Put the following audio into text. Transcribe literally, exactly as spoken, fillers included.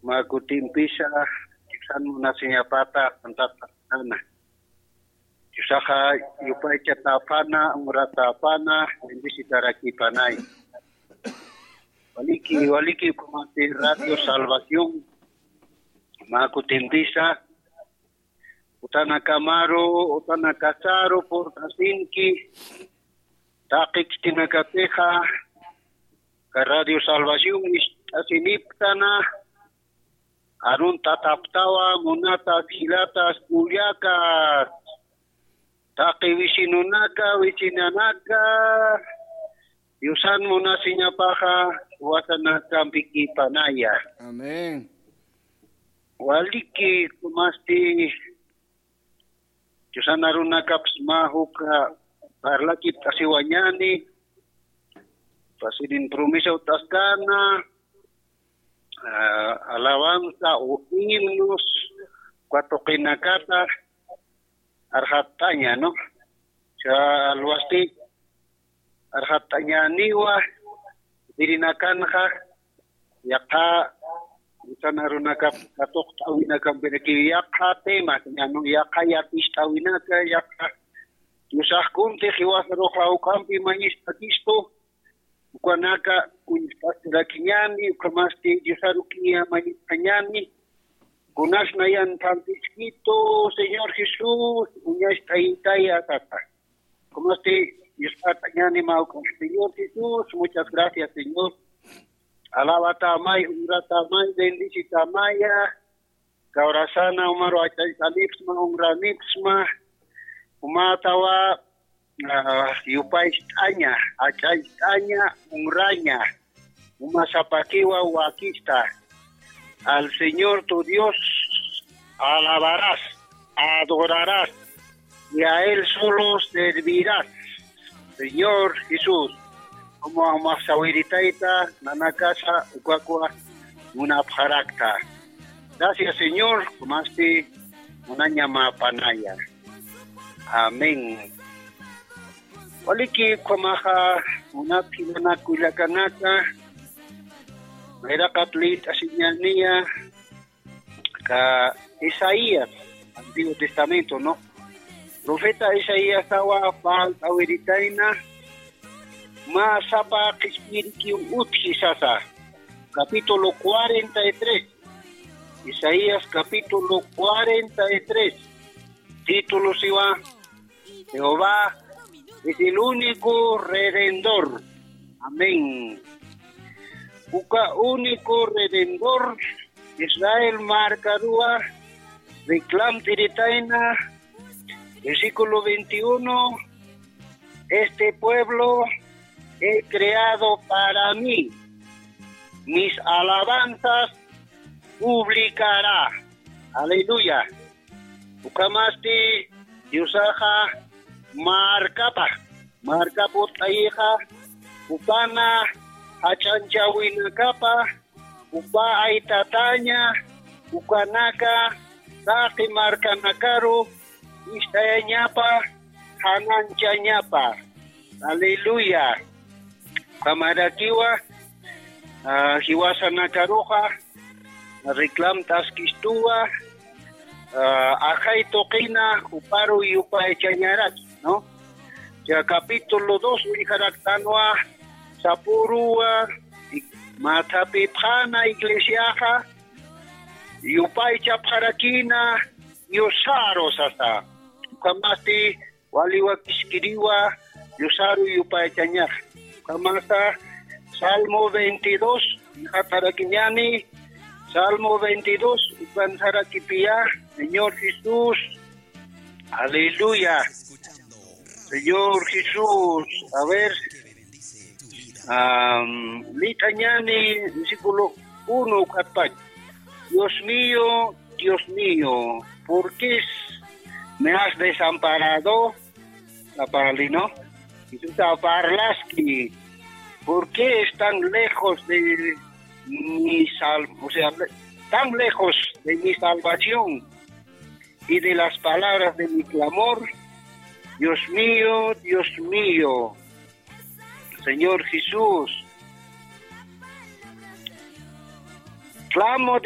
Mä kutimpisa, Diosan munasiñapata, pantatana. Diosaxa yupaychatäpana, honratäpana, bendecitarakïpanay. Waliki, waliki, ukhamax Radio Salvación, mä kutimpisa, utanakamaru, utanakasaru purt'asinki, taqi khitinakatixa, ka Radio Salvación ist'asiniptana, aruntataptawa, munatas, jilatas, kullakas, taqi vecinonaka, vecinanaka, Diosan munasiñapaxa, jiwasanakampikipanaya. Amén. Waliki, ukhamax Diosan arunakapas mä juk parlakipt'asiwañäni, pasinin promesa ut'askana, ah, alabanza o himnos, uka tuqinakata arxat'aña, ¿no? Cha alwasti arxat'añäniwa, irinakanxa, yaqha, Diosan arunakap katuqt'äwinakampirakiw yaqha temas, ña, ¿no? Yaqha yatist'äwinaka, yaqha Diosax kuntix jiwasarux jawk'ampi mañistakistu, ukanaka uñjt'asirakiñäni, ukhamasti Diosarukiña mañistañäni, kunas nayan phantiskitu, Señor Jesús, uñacht'ayitaya, sasa. Ukhamax Diospachañäni mä ukhax, Señor Jesús, muchas gracias, Señor. Alabatämay, honratämay, bendecitämaya. Kawrasana umaru ach'ayt'anipsma, honranipsma. Umätawa, ah, yupaycht'aña, ach'ayt'aña, honraña. Uma sapakiwa wakista. Al Señor tu Dios alabarás, adorarás, y a Él solo servirás. Señor Jesús, como umax sawiritayta, nanakasa ukakwa munapxarakta. Gracias, Señor, ukhasti munañamäpanaya. Amén. Waliki ukhamaxa, munat jilanaka kullakanaka, nayraqat liyt'asiñäniya, ka Isaías, Antiguo Testamento, ¿no? Profeta Isaíasawa parlt'awiritayna, mä sapa qhispiyirikiw utji sasa, capítulo cuarenta y tres, Isaías capítulo cuarenta y tres, título siwa, Jehová es el único redentor. Amén. Uka único redentor, Israel markaruwa, reclamt'iritayna, versículo veintiuno, este pueblo he creado para mí, mis alabanzas publicará. Aleluya. Ukhamasti Diosaxa markapa, markap ut'ayixa, jupana jach'anchäwinakapa, jupa aytataña, ukanaka taqi markanakaru ist'ayañapa, qhananchañapa. Aleluya. Ukhamarakiwa, ah, jiwasanakaruxa, reclamt'askistuwa, ah, ajay tuqina juparu yupaychañaraki, ¿no? Ya capítulo dos uñjaraktanwa, sapüruwa, y mä thapipxäna iglesiaxa, yupaychapxarakïna Diosaru sasa. Ukhamasti wali wakiskiriwa Diosaru yupaychañax. Ukhamasa Salmo veintidós, uñjatarakiñäni, Salmo veintidós, ukan sarakipiya, Señor Jesús, aleluya. Señor Jesús, a ver, am, liyt'añäni, versículo uno, ukat pach. Dios mío, Dios mío, ¿por qué es- me has desamparado? Saparli, ¿no? Jesusa parlaski, ¿por qué están lejos de mi sal-, o sea, tan lejos de mi salvación y de las palabras de mi clamor? Dios mío, Dios mío, Señor Jesús, clamo de